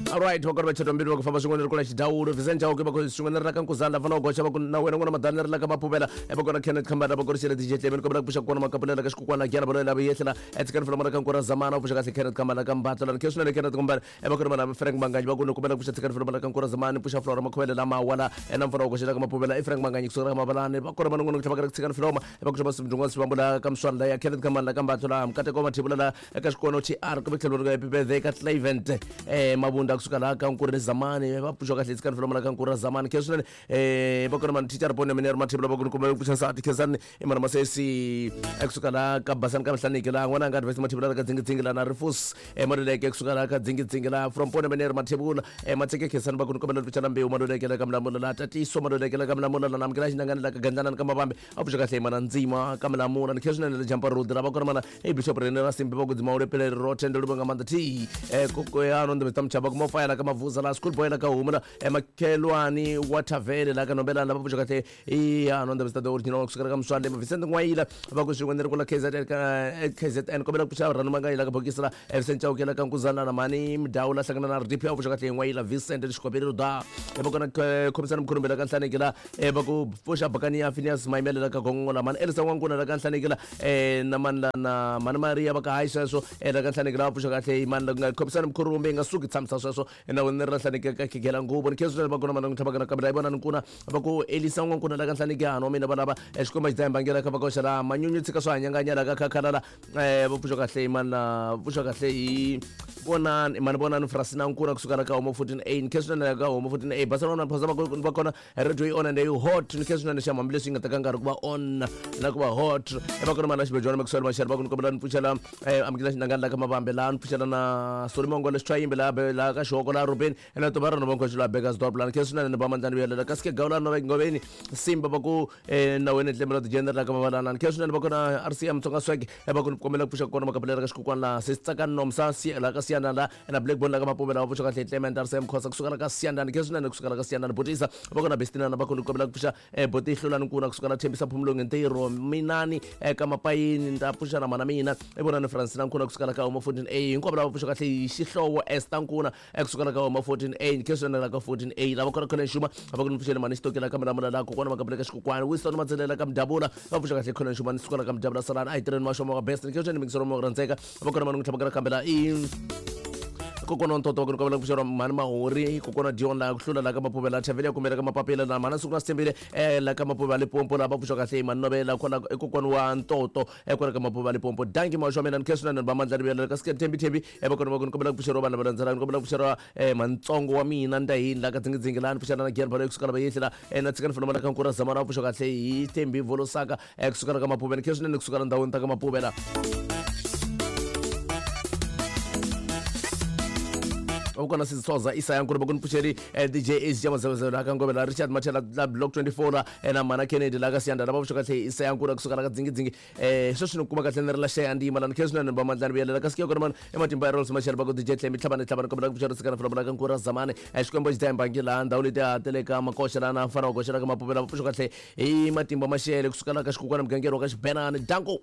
Alright, va kona va chata mbilu va ku famba swin'wana ri kula xidawulo Vincent Chauke va ku swin'wana ri la ka Nkuzana lava na goxa va ku na wena n'wana madana ri la ka Maphuvela va kona Kenneth Khambana va ku ri xele DJ Clement kombela ku pfuxa kona makapulela ka xikukwana gyana va lava yehlela etsikani fela mara ka Nkura Zamana u pfuxa kahle Kenneth Khambana ka Mbatla la khe swinene Kenneth Khambana va kona vana Frank Manganyi va ku ni kombela ku pfuxa tsikani fela mara ka Nkura Zamana pfuxa Flora Makhuvele lama wala ena mfana wa goxa ka Maphuvela i Frank Manganyi kusuka ka Mabalani va kona van'wana ku tlhava ka tsikani fela va ku xava swindunga swi vambula ka Mswana la ya Kenneth Khambana la ka Mbatla la Mkateko Mathebula la eka xikono TR kumbe tlhelo ri happy birthday ka Clavent Mabunda kusuka laha ka Nkuri Zamani va pfuxa kahle tsikani fela ka Nkuri Zamani khe swinene va kona mani teacher pone mina ri Mathebula va ku ni kombela ku pfuxa nsati Khensani i mana Masesi kusuka laha ka Basani ka Mihlaniki laha n'wana nga advance Mathebula ka Dzingidzingi la na Rifus Maluleke kusuka laha ka Dzingidzingi la from pone mina ri Mathebula Matseke Khensani va ku ni kombela ku pfuxa na Mbewu Maluleke la ka Mlamula la Tatiso Maluleke la ka Mlamula la namukela xinangani la ka Gandlana ka Mavambe a pfuxa kahle mana Ndzima ka Mlamula ni khe swinene le Jampa Road la va kona mana i Bishop Rene ra Simbi va ku dzima ule pele ro thendo lu nga maanḓa thi kokoyano ndi Mr Mchaba ku mofaya la ka Mavuza la school boy la ka Humula makhelwani wa Thavele la ka Nombelana la va pfuxa kahle i ano ndi Mr The Original kusukela ka Mswande Vincent N'wayila va ku swin'we ni ri kula KZN ka KZN kombela ku pfuxa Ranu Mangayila ka bokisi la Vincent Chauke la ka Nkuzana na Mani Mdawu la hlangana na RDP a pfuxa kahle N'wayila Vincent Xikopelo da va kona khomisana Mkhulumbi la ka Nhlaneki la va ku pfuxa Bakani ya Phineas Maimele la ka Gongola mani Elisa N'wankuna la ka Nhlaneki la na mani la na mani Maria va ka hayi sweswo la ka Nhlaneki la va pfuxa kahle mani la ku nga khomisana Mkhulumbi nga suki tshamisa sweswo na wena ri la Nhlaneki ka khigela nguvo ni khensa va kona mani tlhava kana kambe la vona ni nkuna va ku Elisa N'wankuna la ka Nhlaneki hano mina va lava xikwembu xi dzaha ka va koxa la manyunyu tshika swa hanyanganya la ka khakhalala va pfuxa kahle mani la pfuxa kahle hi vonani mani vonani Frasina Nkuna kusuka la ka Homo 14A ni khensa la ka Homo 14A basa vona phosa va kona radio yi on and yi hot ni khensa swinene xa hambileswi yi nga teka nkarhi ku va on na ku va hot va kona mana xibejwana Maxwell Mashele va ku ni kombela ni pfuxela amukela xinangani la ka Mavambe laha ni pfuxela na Solimongo le Xitshwayimbi laha laha ka Xihoko laha Rubeni ena to va rona vankhwexo laha Bekkersdorp laha ni khensa swinene ni va mandlani vuyelela kasi ke gawula no ngoveni Simba va ku na wena tlembe la tijender la ka Mavalana ni khensa swinene va kona RCM Tsonga Swag va ku ni kombela ku pfuxa kona makapelela ka xikukwana laha Sesitsakani Nomsa la ka Siyanda la na Blackbone la ka Mapumela va pfuxa kahle Clement RCM Khosa kusuka la ka Siyanda ni khensa swinene kusuka la ka Siyanda ni botisa va kona Bestinana va ku ni kombela ku pfuxa boti Hlulani Nkuna kusuka la Thembisa Phumulonge Ntirho Minani ka Mapayini ni ta pfuxa na mana mina i vona ni Francina Nkuna kusuka la ka Homa 14A hinkwavo lava pfuxa kahle hi xihlovo Esther Nkuna kusuka la ka Homa 14A ni khensa swinene la ka 14A lava kona khona Xuma va ku ni pfuxele mani xitokela ka Milamula la kokwana Makapele ka Xikokwani Winston Matselela ka Mdabula va pfuxa kahle khona Xuma ni suka la ka Mdabula Salani a hi tirheni maxomo wa best ni khensa swinene mingisero mo rhandzeka va kona mani n'wi tlhava kambela i kokwana ntoto va ku ni kombela ku pfuxeriwa mhani Mahori kokwana Dion la ku hlula la ka Maphuvela Thavele ya kumela ka Mapapila na mhana siku na Sithembile la ka Maphuvela Limpopo la va pfuxa kahle mhani Novela kwala i kokwana wa Ntoto kwala ka Maphuvela Limpopo danki mawaxo wa mina ni khensa swinene va mandla rivela ka Sike Thembi Thembi va kona va ku ni kombela ku pfuxeriwa vanhu lava landzelaka ni kombela ku pfuxeriwa mantsongo wa mina Ndahini la ka Dzingidzingi la ni pfuxela na Giyan Baloyi kusuka la va yehli la na tshika ni funa la ka Nkura Zamana va pfuxa kahle hi Thembi Volosaka kusuka la ka Maphuvela ni khensa swinene kusuka la ndhawini ta ka Maphuvela ukona Sisithoza Isaya Nkulu va ku ni pfuxeli DJ Ace ja mazevezelo la ka Ngovela Richard Machela la Block 24 la na Mana Kennedy la ka Siyanda la va pfuxa kahle Isaya Nkulu kusuka la ka Dzingidzingi sweswi ni kuma kahle ni ri la xeya ndima la ni khensa swinene ba mandlani vuyelela kasi ke kona mani ematimba ya Rolls Machela va ku DJ Tlemi tlhavani tlhavani kombela ku pfuxela tsikana fela ka Nkura Zamani Xikwembu xi dzaha laha ndhawu leti ha tele ka Makoxa la na mfana wa goxa la ka Mapuvela va pfuxa kahle hi matimba Maxele kusuka la ka Xikukwana mugangeri wa ka Xibenani danko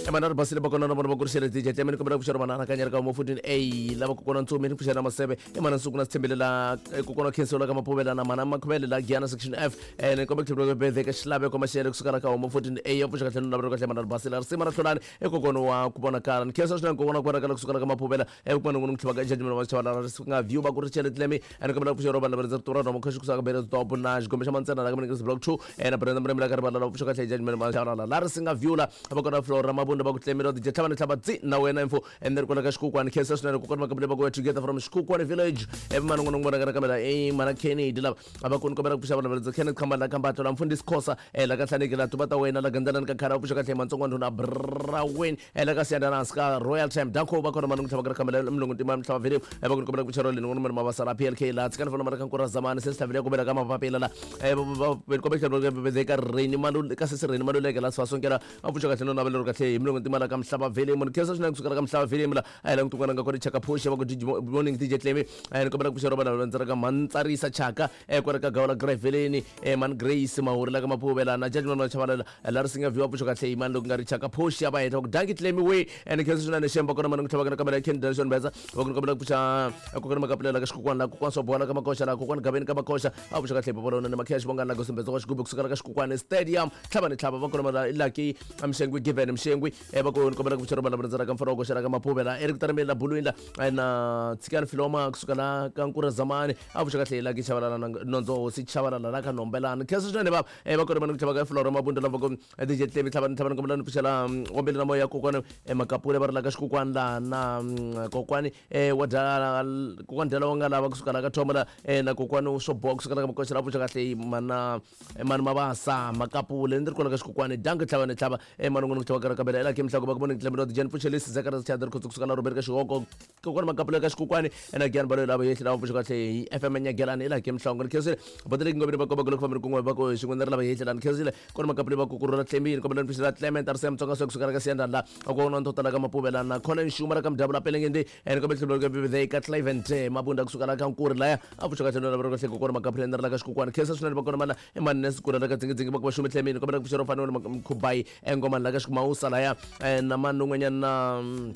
emana ri basile va kona na vona va kurisele DJ Tlemi ni kombela ku pfuxela manana kanyeri ka Homo 14A lava kokwana Ntsumi ni pfuxela Maseve emana Nsuku na Sithembile la kokwana Khensiwa la ka Maphuvela na mana Makhuvele la Giyana section F ni kombela ku tlhela birthday ka Xilaveko Maxele kusuka la ka Homo 14A ya pfuxa kahle ni lavela kahle mana ri basile risimu ra Hlulani i kokwana wa ku vonakala ni khensa swinene kokwana ku vonakala kusuka la ka Maphuvela ku n'wana n'wi tlhava ka judgment wa xava la ri nga view va ku ri chele Tlemi ni kombela ku pfuxela vanhu lava rhandza tura rhomo khoxi kusuka ka Beresdorp na xigombe xa Mantsena la ka Minigris Block 2 na Brenda Mremela ka rivala la pfuxa kahle judgment wa xava la ri singa view la va kona Flora Mabunda va ku Tlemi ro DJ tlhava ni tlhava tsi na wena info ene ri kwala ka Xikukwana khensa swinene kokwana va kambele va ku together from Xikukwana village mana n'wana n'wana ka kamela mana Kennedy lava va ku ni kombela ku pfuxa vanhu va rhandza Kenneth Khamba la Kambatlo la mfundhisi Khosa la ka Nhlaneki la tuva ta wena la Gandzelani ka Khara va pfuxa kahle Mantsongo ndhuna Braweni la ka Siyanda na ka Royal Time danko va kona mani n'wi tlhava ka kamela mulungu ntima mhlava vele va ku ni kombela ku pfuxa ro leni n'wana mani mavasala PLK la tshikani fona mara ka Nkura Zamani se sihlavile ku vela ka mapapila la va kombela ku ka Reni Malu ka sesi Reni Maluleke la swa sonkela va pfuxa kahle no navela ro kahle hi Mulungu timala ka Mhlava Vele mun khensa swinene kusukela ka Mhlava Vele la a hi languti kun'wana nga kona Chaka Phoxa va ku good morning DJ Clemi. A ni kombela ku pfuxela vanhu va ka Mantsarisa Chaka kwala ka Gawula Graveleni, Man Grace Mahuri la ka Maphuvela na Judgment Machavalala la ri singa view pfuxo kahle mani loko nga ri Chaka Phoxa va heta ku danki Clemi we and khensa swinene xemba kona mani ku tlhava kana kamela Ken Nelson Beza va ku kombela ku pfuxa kokwana Makapulela ka Xikukwana la kokwana Sobola ka Makoxa la kokwana Gaveni ka Makoxa a pfuxa kahle Papalona na Makhesh Bongani la Gosumbetsa wa Xigubu kusukela ka Xikukwana Stadium tlhava ni tlhava va kona mara Lucky Mshengwi Given Mshengwi va ku kombela ku pfuxa rona va ka mfana wa koxela ka Maphuvela Eric Tarameli la Bulwini la na Tsikani Filoma kusuka la ka Nkura Zamani a pfuxa kahle Lucky Chavalala na Nondzo Hosi Chavalala la ka Nombelani khensa swinene va va kona mani ku tlhava ka Flora Mabunda la va ku DJ Clemi tlhava ni tlhava ni kombela ni pfuxela kombela na moya kokwana Makapule va ri la ka Xikukwana la na kokwani wa dala kokwani dala wa nga lava kusuka la ka Thoma la na kokwani swo boha kusuka la ka Makoxa la pfuxa kahle mana mani Mabasa Makapule ni ri kona ka Xikukwana danki tlhava ni tlhava mani n'wana ku tlhava ka kabela ela ke mhlako va ku vona Clemi Jen pfuxelisi Zacharias Chadri Khotso kusuka la Robert ka Xihoko kokwana Makapule ka Xikukwana ena Giyani Baloyi lava yehli lava pfuxa kahle hi FM Nyagelani ela ke mhlongo ni khensile boteleki ngobeni va komba ku loko fambeni kun'we va ku xin'we ni ri lava yehli la ni khensile kona Makapule va ku kurhula Clemi kombela ni pfuxela Clement Arsem Tsonga swa kusuka ka Siyandani la a ku na ntotala ka Mapuvela na Colin Xuma la ka Mdavula Pelengende ene kombela tlhelo ka birthday ka Clavent Mabunda kusuka la ka Nkuri laya a pfuxa kahle na lava kahle kokwana Makapule ni ri la ka Xikukwana khensa swinene va kona mala emani ne sikula la ka Dzingi va ku va xume Clemi kombela ku pfuxela fanele Mkhubai engomani la ka Xikumausa laya na mani un'wanyana na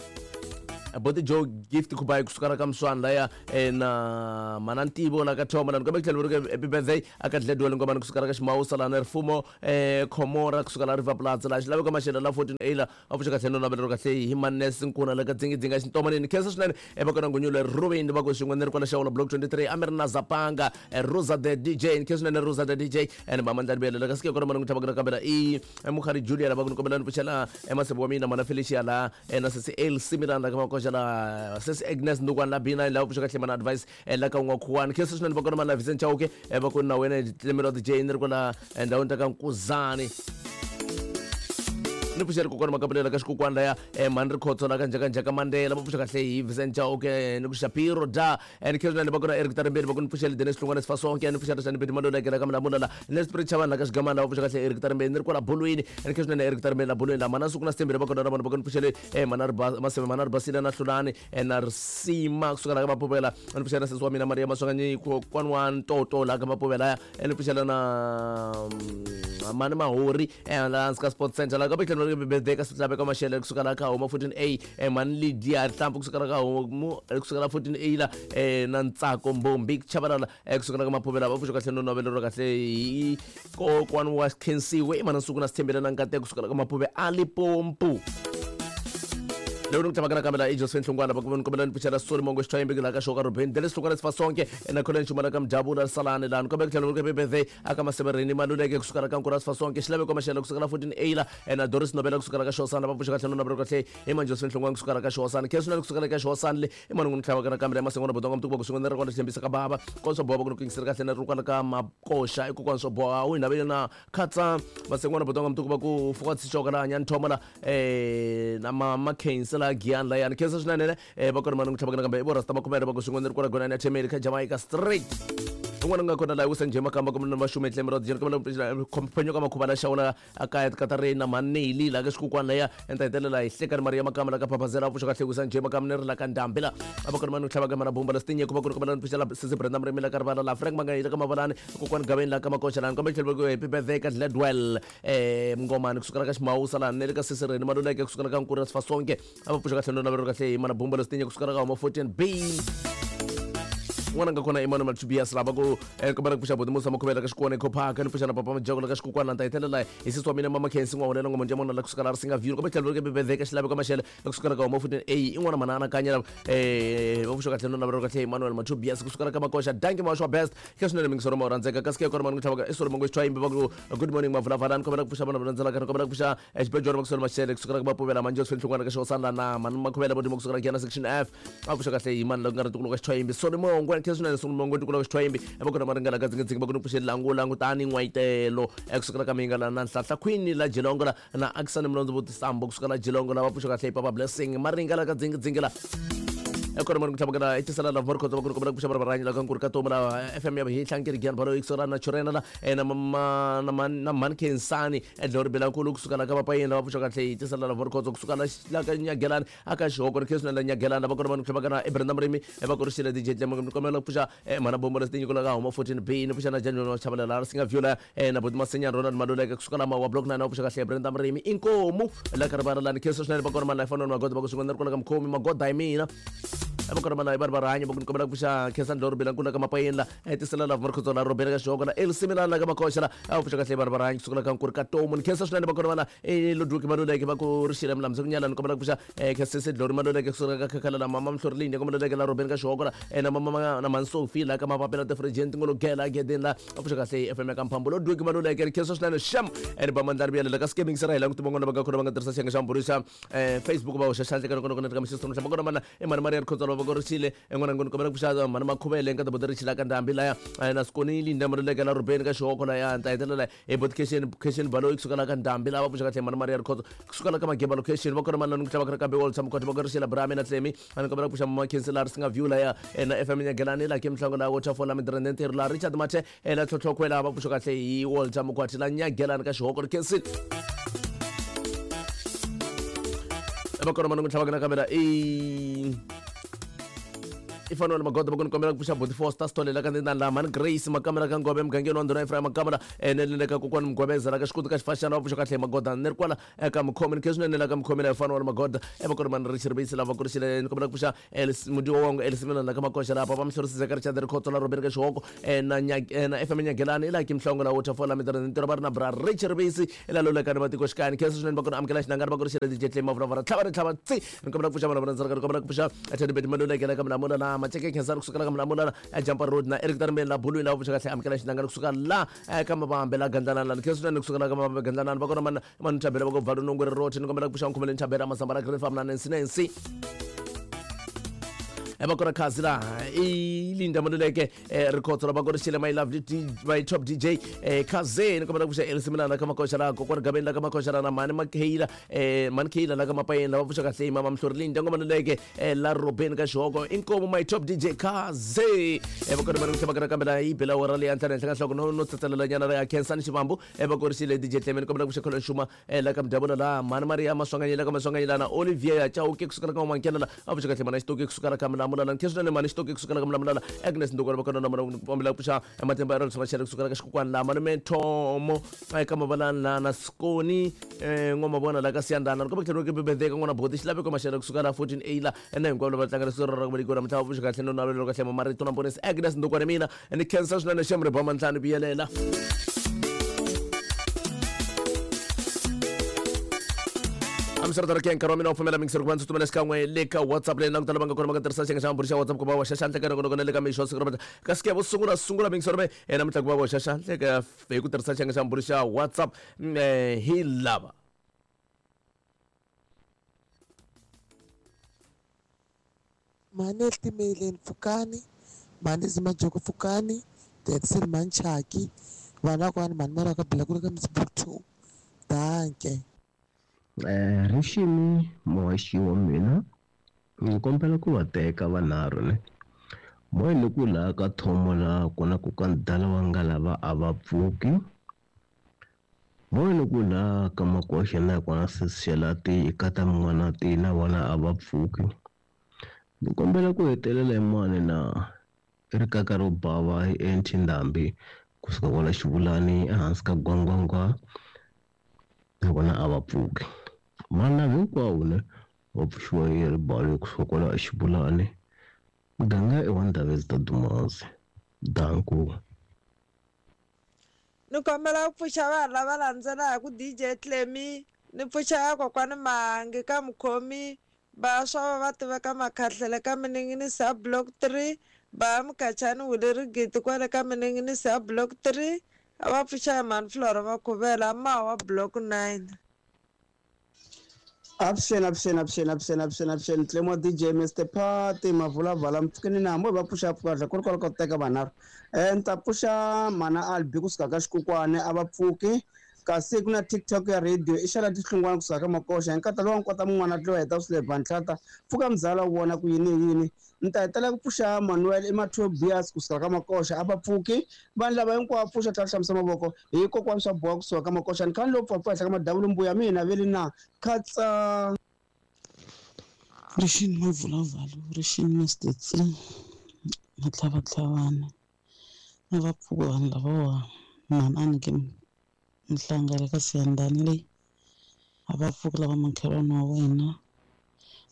Boti Joe Gift Khubai kusuka la ka Mswana laya na mana Ntivo la ka Thoma la ni kombela ku tlhela va happy birthday aka Dledwele ngomani kusuka la ka Ximausa la na Rifumo Khomora kusuka la River Plaza la xilaveko Maxele la 14 A la a pfuxa kahle no navelero kahle hi Manes Nkuna la ka Dzingi Xintomanini khensa swinene va kona Ngunyule Ruben va ku xin'we ni ri kwala Xawula Block 23 a mi ri na Zapanga Rosa the DJ khensa swinene Rosa the DJ and Mamandla Bele la ka sike kona mani ku tlhava kambela i Mukhari Julia la va ku ni kombela ni pfuxela Masebo wa mina mana Felicia la na sesi El Similan la ka Makoxa la sesi Agnes Ndukwana la B9 la pfuxa kahle mana advice la ka N'wakhuwani khensa swinene va kona mana Vincent Chauke va ku na wena Clemelo DJ ni ri kwala ndhawini ta ka Nkuzani ni pfuxela kokwana Makapulela ka Xikukwana laya mhani ri khotso la ka Njhakanjhaka Mandela va pfuxa kahle hi Vincent Chauke ni ku Shapiro da ni khensa swinene va kona Eric Tarimbeni va ku ni pfuxele Dennis Hlongwane Sifasonke ni pfuxela Xani Beti Malula kela ka Mlamula la ni Spirit Chavani la ka Xigamana va pfuxa kahle Eric Tarimbeni ni ri kwala Bolweni ni khensa swinene Eric Tarimbeni la Bolweni la mana Suku na Sithembile va kona na vona va ku ni pfuxele mana Maseve mana Ribasile na Hlulani na Risima kusuka la ka Mapuvela ni pfuxela sesi wa mina Maria Maswanganyi kokwana wa Ntoto la ka Mapuvela ni pfuxela na mani Mahori la hansi ka Sports Center la ka tlhelo birthday ka Swilaveko Maxele kusuka la ka Homa 14A mani Lydia Rihlampfu kusuka la ka Homa kusuka la 14A la na Ntsako Mbombi Chavalala kusuka la ka Maphuvela va pfuxa kahle no navelero kahle hi kokwana wa Khensiwe i mana Nsuku na Sithembile na Nkateko kusuka la ka Maphuve a Limpopo loko ni ku tlhava kambela i Josephine Hlongwana va ku ni kombela ni pfuxela Soli Mongo Xithwayimbi la ka Xoka Ruben Dennis Hlongwana Sifasonke na Colin Xuma la ka Mjabula Salani la ni kombela ku tlhela ku birthday aka Masevereni Maluleke kusuka la ka Nkura Sifasonke Xilaveko Maxele kusuka la 14A la na Doris Nobela kusuka la ka Xosana va pfuxa kahle no navelo kahle i man Josephine Hlongwana kusuka la ka Xosana khensa kusuka la ka Xosana le i mani n'wi tlhava kana kambela Masengwana Bodonga Mtuku va ku swin'we ni ri kwala Xitshembisa ka bava konso boha va ku ni kingisela kahle na ri kwala ka Makoxa i kokwana swo boha u hi navele na Khatsa Masengwana Bodonga Mtuku va ku fuka Tshichoka la Nyani Thoma la na Mama Khensa la Giyani la yani khensa swinene va kona mani n'wi tlhava kana kambe i vo Rasta Makhumele va ku swin'we ni ri kwala Gonani ya Themeli ka Jamaica Street un'wana u nga kona laha wisa njhe makamba kumbe na maxume tlhelo ra dijeni kumbe khomphenyo ka makhuva la xawula akaya katarina maneli la ka Xikukwana laya enta hetelela hi Hlekani Maria Makamba la ka Phaphazela pfuxa kahle wisa njhe makamba ni ri la ka Ndhambi la a va kona mani tlhava ka mana Bumba la Stinye ku va ku ri kombela ni pfuxela sesi Brenda Murimi la ka Rivala la Frank Mangayila ka Mavalani kokwani Gaveni la ka Makoxa lani kombe tlhelo ku happy birthday ka Gladwell Mngomani kusukela ka Ximawusa lani ni le ka sesi Reni Maluleke kusukela ka Nkuri Sifasonke a va pfuxa kahle no navelo kahle hi mana Bumba la Stinye kusukela ka Homa 14 B n'wana nga kona Emmanuel Tobias lava ku kombela ku pfuxa buti Musa Makhuvela ka Xikwana Eco Park ni pfuxa na papa Majoko la ka Xikukwana ta hetelela hi sesi wa mina Mama Khensi N'wahulela Ngoma Njamona la kusukela ri singa view kombe tlhelo ke birthday ka Xilaveko Maxele kusukela ka Homa 14 A i n'wana mana anakanya va pfuxa kahle no navelo kahle Emmanuel Tobias kusukela ka Makoxa danki mawaxwa best kha swinene mingisoro ma rhandzeka kasi ke kona mani ku tlhavaka i Solo Mongo Xithwayimbi va ku good morning Mavulavalani kombela ku pfuxa vana va landzelaka ni kombela ku pfuxa Xibejwana va ku Solo Maxele kusukela ka Mapuvela Manjos Hlongwana ka Xihosana na Mani Makhuvela Vodimo kusukela Giyana section F a pfuxa kahle hi mani la ku nga ri ntukulu ka Xithwayimbi Solo Mongwe kha swinene Solo Mongwe ntukulu ka Xithwayimbi va kona maringana ka Dzingi va ku ni pfuxeli langu langutani n'wayitelo kusukela ka Mingala na Nhlahla Queen la Jilongo la na Akisani Mlondzo Vutisambo kusukela Jilongo la va pfuxa kahle hi Papa Blessing Maringala ka Dzingi la. Kona mani ku tlhavukela i tisela love markhotso va ku ri kombela ku pfuxa varhanyi la ka nkuri ka tomu la FM ya hihlankeri giyani balo ikisora na churena la na na na mhani Khensani edlori Belankulu kusuka la ka Vapayeni lava pfuxa kahle hi tisela love markhotso kusuka la la ka Nyagelani aka Xihoko ri khensina la Nyagelani lava kona mani ku tlhavukela i Brenda Murimi va ku ri xile DJ Tlemo ni kombela ku pfuxa mhana Bombo la Tinyiko la ka Huma 14 B ni pfuxa na Janjoni wa Chavalala ri singa view la na Buti Masenyani Ronald Maluleke kusuka la Mawa Block 9 va pfuxa kahle Brenda Murimi inkomu la ka rivala la ni khensa swinene va kona mani la fanele magoda va ku swin'wana ni ri kwala ka mukhomi magoda hi mina va kona mani va ri va rhanya va ku ni kombela ku pfuxa Khensani Dloro Bilankulu la ka Mapayeni la tisela lava Markhotso la Robert ka Xihoko la Elsimilani la ka Makoxa la a pfuxa kahle va ri va rhanya kusukela ka Nkuri ka Tomu ni khensa swinene va kona vana Ludwig Maluleke va ku ri xile milambi ku nyala ni kombela ku pfuxa Khensese Dlori Maluleke kusukela ka Khakhala la Mama Mhlori Linde kombela la Robert ka Xihoko la na Mama na Mansofi la ka Mapapela Tifrijeni Tingologela Gedeni la a pfuxa kahle FM ya ka Mphambulo Ludwig Maluleke ri khensa swinene xam ene ba mandlari vuyela ka skimming se ra hi languti van'wana va nga kona va nga tirhisa xiyenge xa mbhuri xa Facebook va hoxa xandla ka loko ka mixisito mhla va kona mana i mhani Maria Rikhotso va ku ri xile en'wana ngoni kombela ku pfuxa mhani Makhuvele nka tibuti ri xila ka ndhambi laya na Sikonili ndhambi ri leka la Rubeni ka Xihoko laya ta hetelela hi buti Khesheni Khesheni Baloyi kusuka la ka ndhambi lava pfuxa kahle mhani Maria Rikhotso kusuka la ka Mageba location va kona mana ni ku tlhava kambe Walter Mkhwatho va ku ri xila Brahmi na Tlemi ani kombela ku pfuxa mama Khensi la ri singa view laya na FM Nyagelani la ke mhlango la Waterfall la Midrand ntirho la Richard Mathe la Tlhotlhokhwe la va pfuxa kahle hi Walter Mkhwatho la Nyagelani ka Xihoko ri Khensini va kona mana ku tlhava na kamera i i fanele magoda va ku ni kombela ku pfuxa boti Foster Stolela ka ndina la mhani Grace makamera ka Ngove mugangeni wa ndhuna Ephraim makamera ene le ka kokwani Mugwebeza la ka xikuti ka xifashana va pfuxa kahle magoda ni ri kwala eka mukhomi ni khe swinene la ka mukhomi la fanele magoda e va kona mani Richard Base lava ku ri xile ni kombela ku pfuxa Mudiwa wangu Elsimela la ka Makoxa la papa Mhlorisi Zeka Richard Rikhotso la Robert ka Xihoko na na FM Nyagelani ila ki Mhlongo la Waterfall la Midrand ntirho va ri na bra Richard Base ila lolekani va tikoxikaya ni khensa swinene va kona amukela xinangani va ku ri xile DJ Clay Mavura tlhava ri tlhava tsi ni kombela ku pfuxa vanhu va rhandzaka ni kombela ku pfuxa Teddy Maluleke la ka Mulamula la Maceke Khensani kusuka la ka Mulamula la Jumper Road na Eric Tarmbeni la Bulwini la pfuxa kahle amukela xinangani kusuka la ka Mavambe la Gandlanani la ni khensa swinene kusuka la ka Mavambe Gandlanani va kona mani mani Thabela va ku Bvalu Nongwe ri rothi ni kombela ku pfuxa Nkhumele Thabela Masamba la Green Farm na Nancy Nancy va kona khazi la i Linda Maluleke Rikhotso la va kona xile my lovely my top DJ Khaze ni kombela ku pfuxa Elsimilana ka Makoxa la kokwani Gabeni la ka Makoxa la na mhani Makheyila mhani Kheyila la ka Mapayeni lava pfuxa kahle mama Mhlori Linda ngoma Maluleke la Robeni ka Xihoko inkomu my top DJ Khaze va kona mani ku tlhela va kambe la yi bela wora leyi antlhana henhla ka nhloko no no tsatselela nyana ra ya Khensani Xivambu va korisile DJ Clement ni kombela ku pfuxa Kholo Xuma la ka Mdabula la mhani Maria Maswanganyi la ka Maswanganyi la na Olivier ya Chauke kusukela ka Mankela la a pfuxa kahle mhani Xitoki kusukela ka Mulamula la nkhensa swinene mhani Xitoki kusukela ka Mulamula la Agnes Ndukwana va kona na mhani kombela ku pfuxa Matimba ya Rhodes Machele kusukela ka Xikukwani la malume Thomo eka Mavalani la na Skoni N'wamavona la ka Siyandana ni kombela ku tlhela ku bebedeka n'wana Boti Xilaveko Machele kusuka la 14 A la na hinkwavo lava tlangela siku ra ku velekiwa namuntlha va pfuxa kahle no navelo kahle marito na Mponisi Agnes Ndukwana mina ni khensa swinene xem ri bama ntlhanu vuyelela amiswiritano ke nkarhi wa mina wa pfumela mingiseri ku va ndzi tsutsumela xikan'we le ka WhatsApp leyi langutela va nga kona va nga tirhisa xiyenge xa mambhuri xa WhatsApp ku va hoxa xandla ka nongonoko na le ka mixo siku ra kasi ke vo sungula sungula mingiseri me namuntlha ku va hoxa xandla ka hi ku tirhisa xiyenge xa mambhuri xa WhatsApp hi lava Mhani Etimeleni pfukani, mhani Zimajoko pfukani, Jackson mhani Chaki, vana kwani mhani Maraka Bila ku ri ka Mzimkhulu 2. Danke. Riximi muhaxi wa mina ni kombela ku va teka vanharhu ne moya ni ku laha ka thomo laha kona ku ka ndala wa nga lava a va pfuki moya ni ku laha ka makoxa na kona sesixelati ka ta min'wana ti na vona a va pfuki ni kombela ku hetelela hi mani na rikaka ro bava hi enti ndhambi kusuka kwala xivulani ehansi ka gwangwangwa na vona a va pfuki vana hinkwawo ne va pfuxiwa hi ribalo kusuka kwala xivulani muganga i wa Ndhavezita Dumazi danku. Ni kombela ku pfuxa vanhu lava landzelaka DJ Clemy ni pfuxa kokwani Mahangi ka Mukhomi vaswa va va tiveka Makhahlele ka Mininginisi ya Block 3 va Mukachani Wile Rigiti kwale ka Mininginisi ya Block 3 a va pfuxa hi mhani Flora Makhuvela mawa Block 9. Avuxeni avuxeni avuxeni avuxeni avuxeni avuxeni Clemo DJ Mr Party Mavulavala mpfukeni na hambi va pfuxa pfuka ku ri kwala ka ku teka vanharhu ni ta pfuxa mana Albi kusuka ka Xikukwani a va pfuki Kasi ku na TikTok ya radio i xala tihlungwana kusuka ka makoxa hi nkata lowa nkota mun'wana tliwa heta swi le pfuka mzala wu vona ku yini yini. Ni ta hetela ku pfuxa Manuel i Matobias kusuka ka makoxa a va pfuki vanhu lava hinkwavo pfuxa tlhela hlambisa mavoko hi kokwani swa boha kusuka ka makoxa ni khani lowu pfapfa henhla ka madavula mbuya mina veli na khatsa. Rixini mavulavulo rixini Mr C matlhavatlhavana a va pfuki vanhu lavawa mhani ke Mhlanga ka Siyandhani leyi a va pfuki lava makhelwani wa wena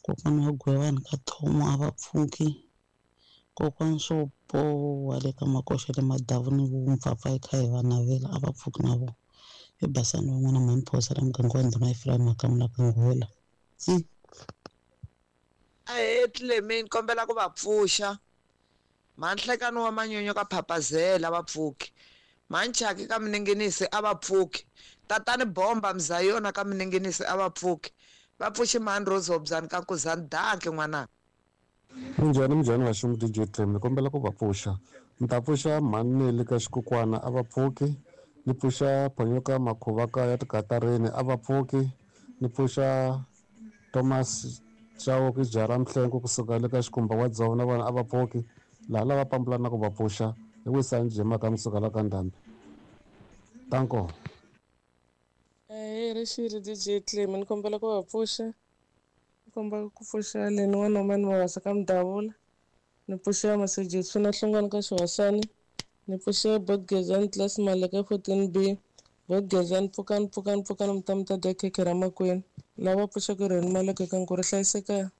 kokwana wa Gwewani ka Thomo a va pfuki kokwana swo boha le ka makoxa le Madavuni vumpfapfa hi kha hi va navela a va pfuki na vona i Basani van'wana mhani Phosa la muganga wa ndhuna Ephraim Makamula ka Nghola tsi. Ahee Clement kombela ku va pfuxa mhanhlekani wa manyunyu ka Phapazela va pfuki Manchaki ka Mininginisi a va pfuki tatani Bomba Mzayona ka Mininginisi a va pfuki va pfuxi mhani Rose Hobyani ka Nkuzani danki n'wananga. Minjhani minjhani vaxungu DJ Clem ni kombela ku va pfuxa ni ta pfuxa mhani Neli ka xikukwana a va pfuki ni pfuxa Phonyoka Makhuva ka ya tikatarini a va pfuki ni pfuxa Thomas Chauke Jara Mhlengo kusuka le ka Xikumba wa Dzovo na vona a va pfuki laha lava pambulana ku va pfuxa hi wisani Jemaka musuka la ka Ndhambi tanko. Ahee rixile DJ Clem ni kombela ku va pfuxa ni kombela ku pfuxa leni wa Norman Mabasa ka Mudavula ni pfuxa Masejetsu na Hlongwane ka Xihosani ni pfuxa Botgezani class Maleka 14B Botgezani pfukani pfukani pfukani mi ta mi ta dya khekhe ra makwenu lava pfuxaka rheni Maleka ka Nkuri hlayiseka.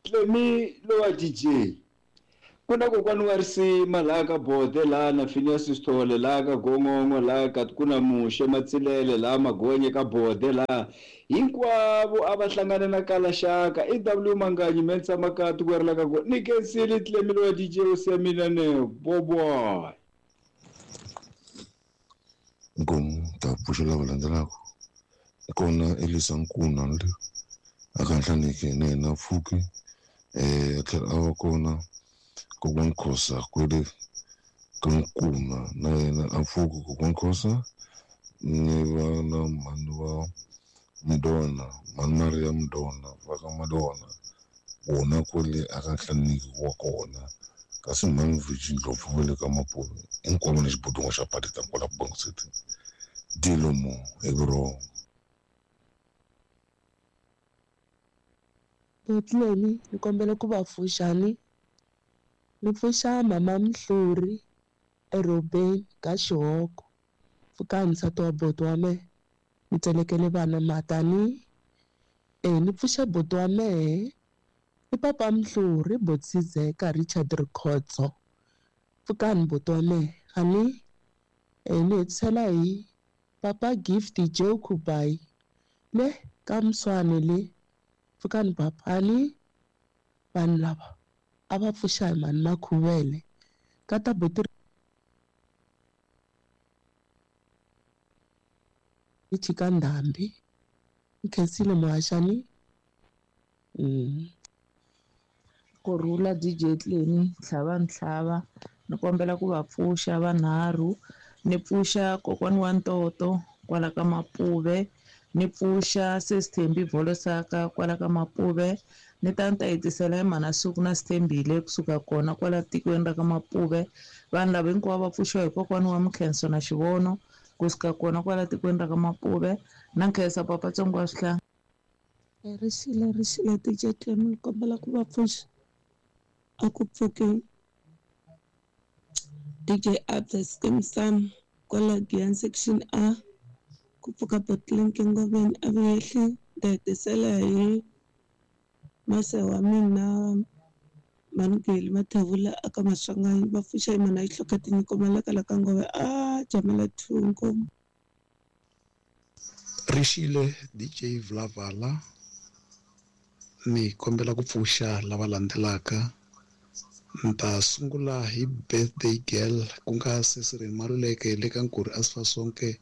Clemi lowa DJ ku na kokwani wa risima laha ka Bode laha na Phineas Sithole laha ka Gongongo laha ka ku na Muxe Matsilele laha Magonye ka Bode laha hinkwavo a va hlangane na Kalaxaka i W Manganyi Mensa Makati ku ri ka ku ni kensile Clemi lowa DJ u siya mina ne boboy. Nkomu ta pfuxa lava landzelaka kona Elisa Nkuna le a ka Nhlaneki na yena pfuki a tlhela a va kona kokwani Khosa kwele ka Nkuna na yena a pfuki kokwani Khosa ni va na mhani wa Mdona mhani Maria Mdona va ka Madona vona kwele a ka Nhlaneki wa kona kasi mhani Virgin Ndlopfu va le ka Mapuve hinkwavo ni xibodongo xa Patita kwala Bongo City Dilomo hi vurhongo. Botleni ni kombela ku va pfuxani ni pfuxa mama Mhluri eRobeni ka Xihoko pfukani nsati wa boti wa mehe ni tselekele vana matani ni pfuxa boti wa mehe i papa Mhluri Botsizeka Richard Rikhotso pfukani boti wa mehe ani ni hetisela hi papa Gift Joe Kubai le ka Mswane le pfukani papa ani vanhu lava a va pfuxa hi mhani Makhuvele ka ta boti Richie ka Ndhambi ni khensile muhaxani. Kurhula DJ Clemi tlhava ntlhava ni kombela ku va pfuxa vanharhu ni pfuxa kokwani wa Ntoto kwala ka Mapuve ni pfuxa Sesithembi Volosaka kwala ka Mapuve ni ta ni ta hetisela hi mhana Suku na Sithembile kusuka kona kwala tikweni ra ka Mapuve vanhu lava hinkwavo va pfuxiwa hi kokwani wa Mkhenso na Xivono kusuka kona kwala tikweni ra ka Mapuve na nkhensa papa Tsongo wa Swihlanga. Rixile rixile DJ Clem ni kombela ku va pfuxa a ku pfuki DJ Abda Skim Sam kwala Giyani section A ku pfuka Botleng Ngoveni a vuyehli ta hetisela hi mase wa mina Manugeli Mathevula aka Maswanganyi va pfuxa hi mhana Yihloka tinyiko malaka ka Ngove a jamela 2 nkomu. Rixile DJ Vlavala ni kombela ku pfuxa lava landzelaka ni ta sungula hi birthday girl ku nga Sesireni Maluleke le ka Nkuri Asifasonke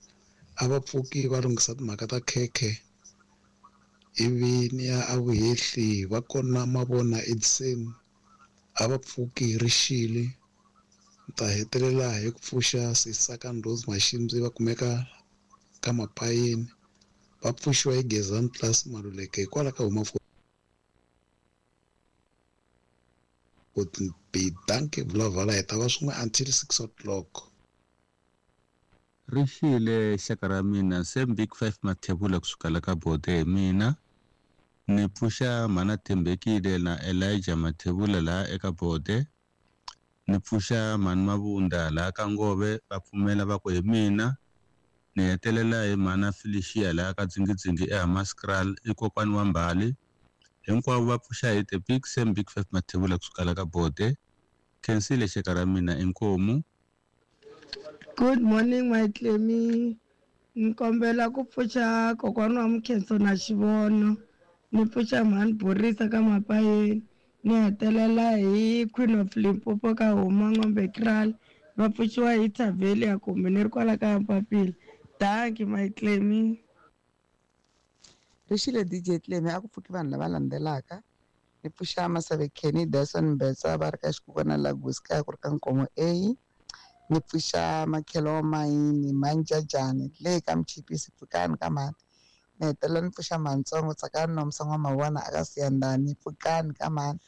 a va pfuki va lunghisa timhaka ta khekhe ivi ni ya a vuhehli va kona mavona Edison a va pfuki rixile Ni ta hetelela hi ku pfuxa Sisaka Ndlozi Mashimbyi va kumeka ka Mapayeni, va pfuxiwa hi Gezani Plus Maluleke hikwalaho ka huma 14B. Dankie Vulavala, hi ta va swin'we until 6 o'clock. Ri xile xaka ra mina same big five mathebula kusuka la ka bode hi mina ni pfuxa mhana Thembekile na Elijah Mathebula laha eka bode ni pfuxa mhani Mavunda laha ka Ngove va pfumela va ku hi mina ni hetelela hi mhana Felicia laha ka Dzingidzingi eHamaskral i kokwani wa Mbali hinkwavo va pfuxa hi the big same big five mathebula kusuka la ka bode khensile xaka ra mina inkomu. Good morning my Clemmy. Ni kombela ku pfuxa kokwana wa Mukhenso na Xivono. Ni pfuxa mhani Borisa ka Mapayeni. Ni hetelela hi Queen of Limpopo ka Huma N'ombe Kraal. Va pfuxiwa hi Thavelia kumbe ni ri kwala ka Mpapila. Dankie my Clemmy. Rixile DJ Clemmy a ku pfuki vanhu lava landzelaka ni pfuxa Maseve Kenny Dyson Mbetsa va ri ka Xikukwana Lagos kaya ku ri ka Nkomo A ni pfuxa Makhelo wa Mayini Manjajani le ka Mchipisi pfukani ka mhani ni hetelela ni pfuxa Mhantsongo Tsakani Nomsa N'wamavona aka Siyandhani pfukani ka mhani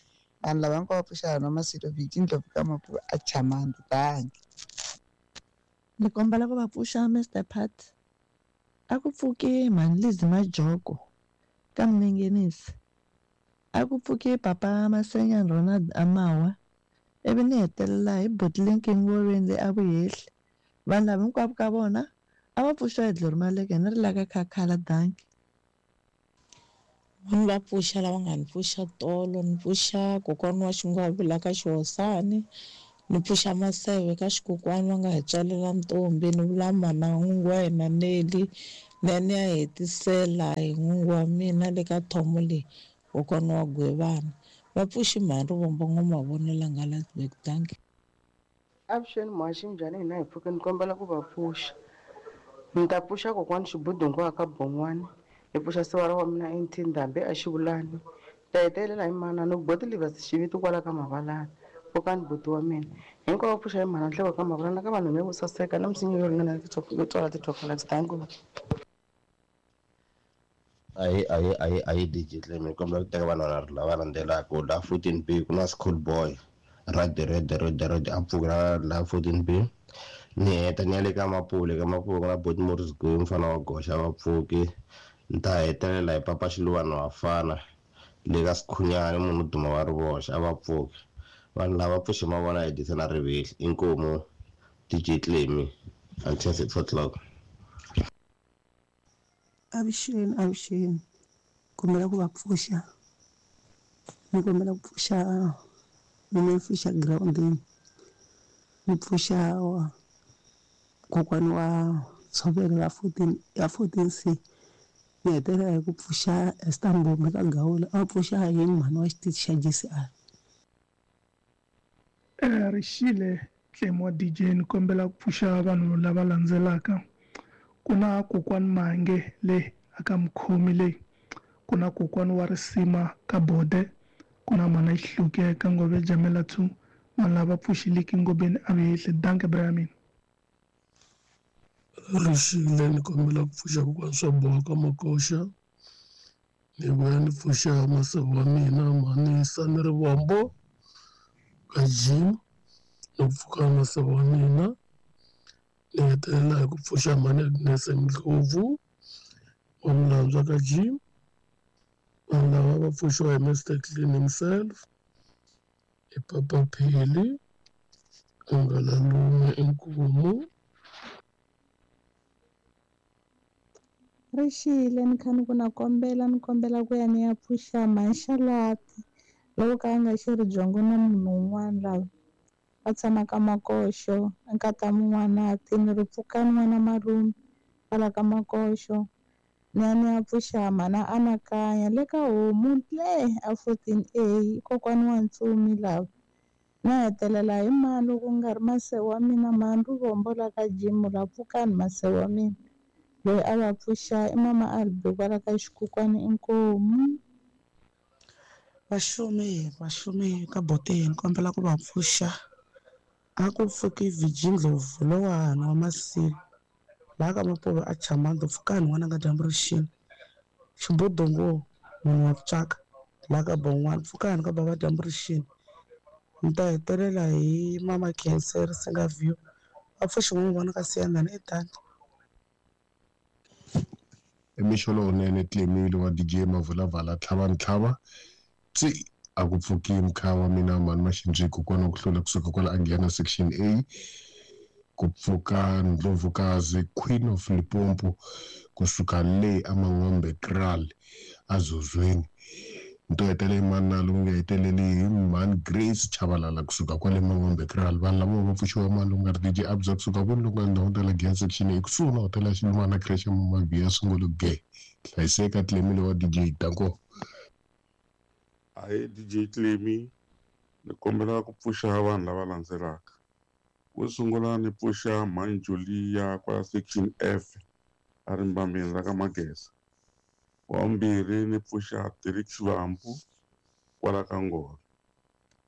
vanhu lava hinkwavo va pfuxa hona Masilo Viki Ndlovu ka Mapu a Chamandi dankie. Ni kombela ku va pfuxa Mr Pat a ku pfuki mhani Lizzy Majoko ka Minengenisi a ku pfuki papa Masenyani Ronald Amawa ivi ni hetelela hi buti Lincoln Ngorweni le a Vuhehli vanhu lava hinkwavo ka vona a va pfuxiwa hi Glory Maleke ni ri la ka Khakhala dankie. Ni va pfuxa lava nga ni pfuxa tolo ni pfuxa kokwana wa Xingwavi la ka Xihosani ni pfuxa Maseve ka Xikokwani va nga hi tswalela ntombi ni vula mana n'wingi wa hina Nelly ni ya ni ya hetisela hi n'wingi wa mina le ka thomo leyi kokwana wa Gwevana va pfuxi mhani Rivombo N'wamavonela nga Landsberg dankie. Avuxeni muhaxi minjhani hina hi pfuke ni kombela ku va pfuxa ni ta pfuxa kokwani Xibudungu ka Bon'wani ni pfuxa sivara wa mina NT Ndhambi a Xivulani ni ta hetelela hi manana boti Livers Xiviti kwala ka Mavalani pfukani buti wa mina hinkwavo pfuxa hi mhana Nhleko ka Mavalani na ka vanhu vo saseka na misinya yo ringana yo tswala ti-chocolates thank you. Ahi ahi ahi ahi DJ Clem hi kombela ku teka vanhu vanharhu lava landzelaka la 14B ku na school boy red red red red a pfuka la 14B ni heta ni ya le ka Mapule ka Mapule ku na Boti Morris Gwe mfana wa goxa va pfuki ni ta hetelela hi papa Xiluva wa fana le ka Sikhunyani munhu duma wa rivoxa a va pfuki vanhu lava pfuxe ma vona hi disa na rivehli inkomu DJ Clemi until 6 o'clock. Avuxeni avuxeni kombela ku va pfuxa ni kombela ku pfuxa mina ni pfuxa girawundini ni pfuxa kokwana wa ntshovelo ya 14 ya 14 C ni hetelela hi ku pfuxa Esther Mbombi ka Gawula a pfuxa hi mhani wa xitichi xa G_C_R. Rixile Tlemo wa DJ ni kombela ku pfuxa vanhu lava landzelaka ku na kokwani Mange le aka Mukhomi le ku na kokwani wa Risima ka Bode ku na mhana Xihluke ka Ngove Jamela 2 vanhu lava pfuxiliki Ngobeni a Vehehli danke bra ya mina. Rixile ni kombela ku pfuxa kokwani swa boha ka Makoxa ni vuya ni pfuxa masavu wa mina mhanisa ni Rivombo ka Jim ni ku pfuka masavu wa mina ni hetelela hi ku pfuxa mhani Agnes Ndlovu wa Mulandzwa ka Jim vanhu lava va pfuxiwa hi Mr Clean himself hi Papa Phili Ngalalume Inkomu. Rixile ni kha ni ku na kombela ni kombela ku ya ni ya pfuxa Mhanxalati loko ka a nga xi ri byongo na munhu un'wana lava va tshamaka Makoxo nkata Mun'wanati ni ri pfukani n'wana malume kwala ka Makoxo ni ya ni ya pfuxa mhana Anakanya le ka homu le a 14A kokwani wa Ntsumi lava na hetelela hi mani loko ku nga ri masewu wa mina mhani Rivombo la ka Jim la pfukani masewu wa mina loyi a va pfuxa i mama Albi kwala ka Xikukwani inkomu. Vaxumi vaxumi ka boteni kombela ku va pfuxa A ku pfuki Viji Ndlovu lowahana wa Masilo laha ka Mapuve a Chamando pfukani n'wananga dyambu ri xini Xibodongo munhu wa ku tswaka laha ka Bon'wana pfukani ka bava dyambu ri xini ni ta hetelela hi mama Khensa Risinga View va pfuxi n'wi vona ka Siyandhani eDande. I mixo lowunene Clemile wa DJ Mavulavala tlhava ni tlhava tsi a ku pfuki mkhaya wa mina mhani Maxindzi kokwana wa ku hlula kusuka kwala a nghena section A ku pfuka Ndlovukazi Queen of Limpopo kusuka le a Mangombe Kraal a Zozweni nto hetelela mani lowu nga heteleli hi mhani Grace Chabalala kusuka kwale Mangombe Kraal vanhu lava va pfuxiwa mani lowu nga ri DJ Abza kusuka kwini loku nga ndhawu ta la section A kusuhi na hotela ya Xilumana creche Mabhiya Sungulu Ge hlayiseka Clemile wa DJ danko. Ahee DJ Clemi ni kombela ku pfuxa vanhu lava landzelaka. Wo sungula ni pfuxa Mhani Julia kwala section F a ri mbambeni ra ka Mageza. Wa vumbirhi ni pfuxa Derek Xivambu kwala ka Ngolo.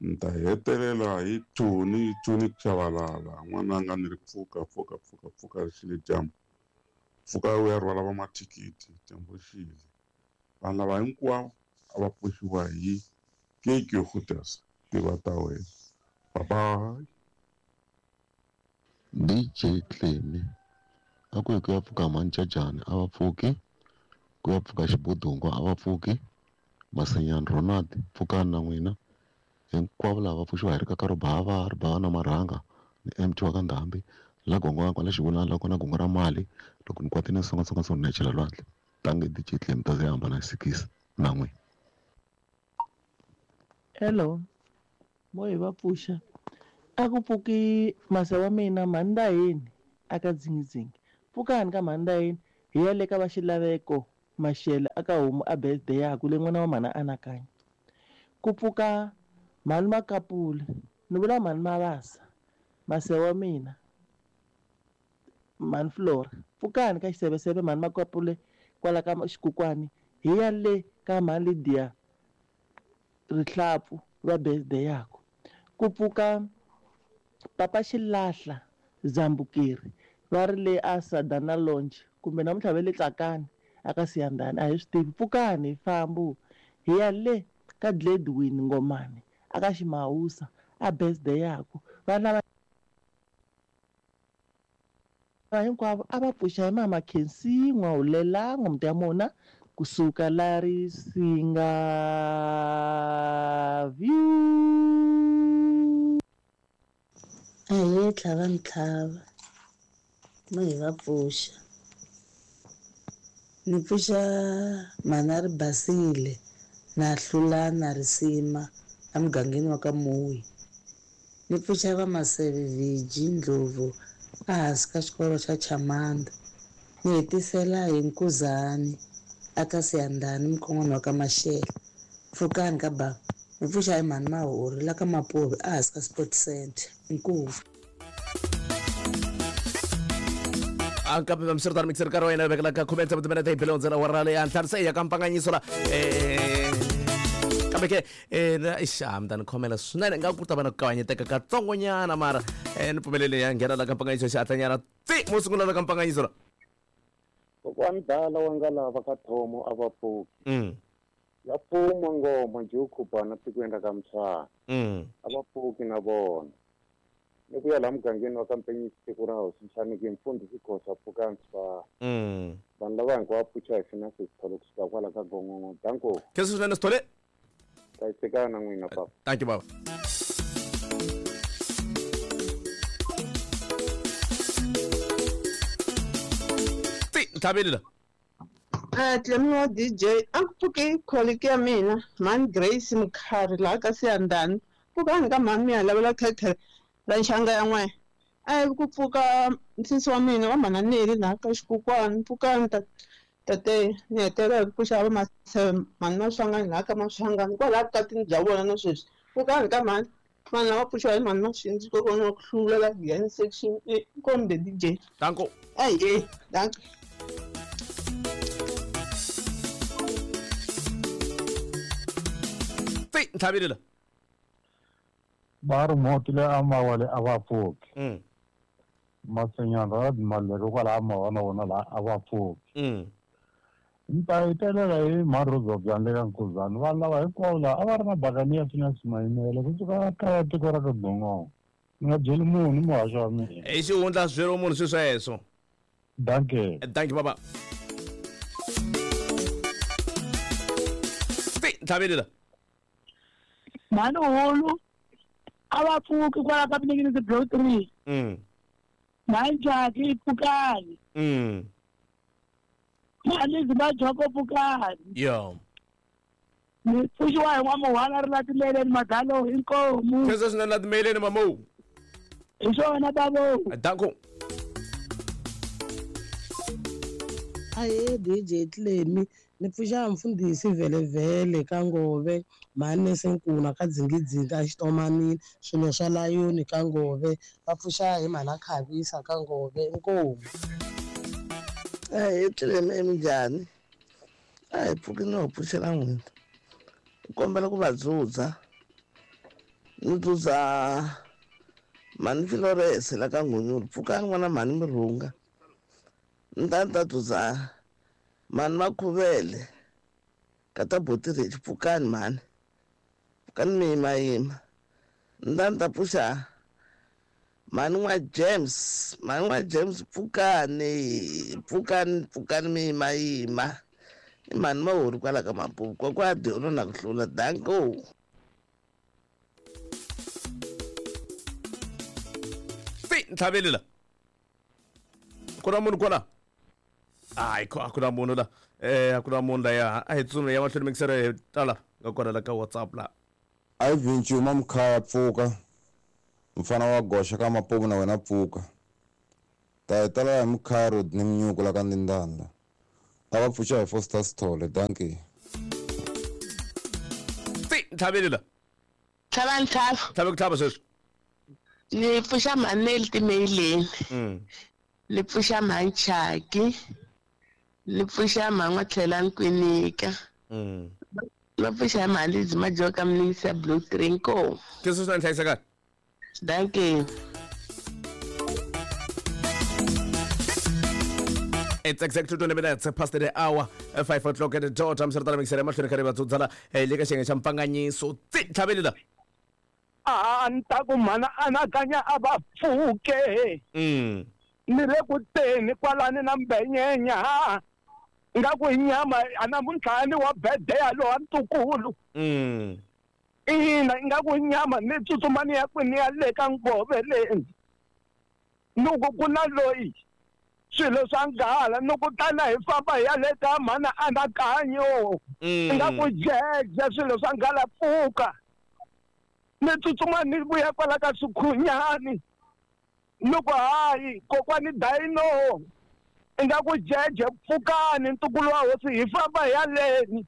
Ni ta hetelela hi Tony Tony Chabalala n'wananga ni ri pfuka pfuka pfuka pfuka ri xile dyambu. Pfuka u ya rhwala va mathikithi dyambu ri xile. Vanhu lava hinkwavo a va pfuxiwa hi keke yo khutaza tiva ta wena. Bye bye. DJ Clemi a ku yi ku ya pfuka Mhani a va pfuki ku ya pfuka Xibodongo a va pfuki Masenyani Ronald pfukani na n'wina hinkwavo lava va pfuxiwa hi ri kaka ribava ribava na marhanga ni MT wa ka Ndhambi la gongo kwala xivulana la kona gongo ra mali loko ni kwatile ni songasonga ni chela lwandle tange DJ Clemi ta ze hambana sikisi na n'wina. Hello, mo hi va pfuxa a ku pfuki masa wa mina mhandaheni aka dzingidzingi pfukani ka mhandaheni hi ya le ka va xilaveko Mashele aka homu a birthday yaku le n'wana wa mhana anakanya ku pfuka mhani Makapula ni vula mhani Mavasa mase wa mina mhani Flora pfukani ka xiseveseve mhani Makapule kwala ka xikukwani hi ya le ka mhani Lydia Rihlapfu va birthday yaku ku pfuka Papa Xilahla Zambukeri va ri le a Sadana Lounge kumbe namuntlha va le Tsakani aka Siyandhani a hi swi tivi pfukani hi fambu hi ya le ka Gladwin Ngomane aka Ximawusa a birthday yaku vana va hinkwavo a va pfuxa hi mama Khensi N'wahulela n'wamuti ya mona kusuka la Risinga View. Ahee tlhava ntlhava mo hi va pfuxa ni pfuxa mhana ri basile na hlula na risima emugangeni wa ka Muyi ni pfuxa va Maseve Viji Ndlovu ehansi ka xikolo xa Chamanda ni hetisela hi Nkuzani aka Siyandhani mukhon'wana wa ka Mashele pfukani ka bava ni pfuxa hi mhani Mahori la ka Mapuve ehansi ka Sport Center inkomu. Kambe vamsirtani mixer nkarhi wa yena vekela ka khume tsevu timinete hi bele hundzela wara leyi ntlhanu se ya ka mpanganyiso la kambe ke ixa mi ta ni khomela swinene nga ku ta va na ku kavanyeteka katsongonyana mara ni pfumelele ya nghena la ka mpanganyiso xihatlanyana tsi mo sungula la ka mpanganyiso la kokwani dala wa nga lava ka thomo a va pfuki ya pfuma ngoma njhe u khubana tikweni ra ka Mtshwana a va pfuki na vona ni ku ya laha mugangeni wa ka Mpenyisi tiko ra hosi Nhlaniki mfundhisi Khosa pfukani swa vanhu lava hinkwavo pfuxa hi Finance Sithole kusuka kwala ka Gongongo danko khensa swinene Sithole hlayisekana na n'wina papa. Thank you baba. Tsi ntlhaveli la Clemi wa DJ a ku pfuki colleague ya mina mhani Grace Mkhari laha ka Siyandhani pfukani ka mhani mi ya lavela khekhe ra nxanga ya n'we a ku pfuka nsisi wa mina wa mhana Neli laha ka xikukwani pfukani tate ni hetelela hi ku pfuxa va Maseve mhani Maswanganyi laha ka Maswanganyi kwalaha vukatini bya vona na sweswi pfukani ka mhani vanhu lava pfuxiwa hi mhani Maxindzi kokwana wa ku hlula la Giyani section A kombe DJ danko ahee danko. Tsi ntlhaveli la. Ba ri moti le amawale a va pfuki. Masenyana ra malero kwala amawa na wona la a va pfuki. Ni ta hetelela hi mharodzo bya le ka Nkuzana vanhu lava hinkwavo laha a va ri na bakani Phineas Mayimele kusuka kaya tiko ra ka Gongongo. Ni nga byeli munhu ni muhaxi wa mina. I xihundla swi byeriwa munhu swi sweswo. Dankie. Dankie baba. Ti ntlhaveli la. Mhani hulu a va pfuki kwala ka Minengenisi block 3. Mhani Jaki pfukani. Mhani Zimajoko pfukani. Yo. Ni pfuxiwa hi n'wamuhwana ri la timeleni madalo inkomu. Khensa swinene la timeleni mamu. Hi swona babo. Danko. Ahe DJ Tlemi ni pfuxa mfundhisi vhelevhele ka Ngove mhani Senkuna ka Dzingidzingi a Xitomanini swilo swa layoni ka Ngove va pfuxa hi mhana Khavisa ka Ngove inkomu. Ahe Tlemi minjhani? A hi pfuki ni ho pfuxela n'wina. Ni kombela ku va dzudza. Ni dzudza mhani Flores la ka Nghonyulu pfukani n'wana mhani mi rhunga. Ni ta ni ta dzudza mhani Makhuvele ka ta Botirich pfukani mhani. Pfukani mi yimayima. Ni ta ni ta pfuxa mhani n'wa James, mhani n'wa James pfukani, pfukani pfukani mi yimayima. I mhani Mahori kwala ka Mapupu kokwa Diolo na ku hlula danko. Ti ntlhaveli la. Ku na munhu kwala? Hayi a ku na munhu la. A ku na munhu la ya. A hi tsutsumi ya mahlweni mikisero hi tala nga kona la ka WhatsApp la. A Vinci uma mkhaya pfuka. Mfana wa goxa ka Mapupu na wena pfuka. Ta hi tala hi mkhaya road ni minyuku la ka Ndindanda. A va pfuxa hi Foster Sithole, dankie. Ti ntlhaveli la. Tlhava ntlhava. Tlhava ku tlhava sweswi. Ni pfuxa mhani timeileni. Ni pfuxa mhani Chaki. Ni pfuxa mhani N'watlhela Nkwinika. Va pfuxa mhani Lizzy Majoka Mningisa Blue 3 inkomu. Khensa swinene hlayisekani. Dankie. It's exactly 20 minutes past the hour, 5 o'clock at the dot. I'm sure that makes it much more clear to tsala le ka xiyenge xa mpfanganyiso. Tsi ntlhaveli la. A ni ta ku mhana anakanya a va pfuke. Ni le ku teni kwalani na Mbenyenya. Nga ku hi nyama a namuntlha ni wa birthday lowa ntukulu. Ina nga ku nyama ni tsutsuma ni ya kwini ya le ka Ngove leni. Loko ku na loyi swilo swa nghala ni ku tana hi famba hi ya le ka mhana anakanyo. Nga ku jeje swilo swa nghala pfuka. Ni tsutsuma ni vuya kwala ka Swikhunyani. Loko hayi kokwani Dino nga ku jeje pfukani ntukulu wa hosi hi famba hi ya leni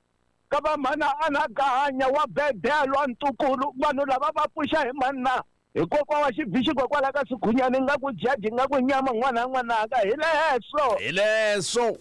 ka va mhana anakanya wa bedelwa ntukulu vanhu lava va pfuxa hi mani hi kokwa wa xibixi kokwala ka Swikhunyani nga ku jeje nga ku nyama n'wana n'wanaka hi leswo hi leswo.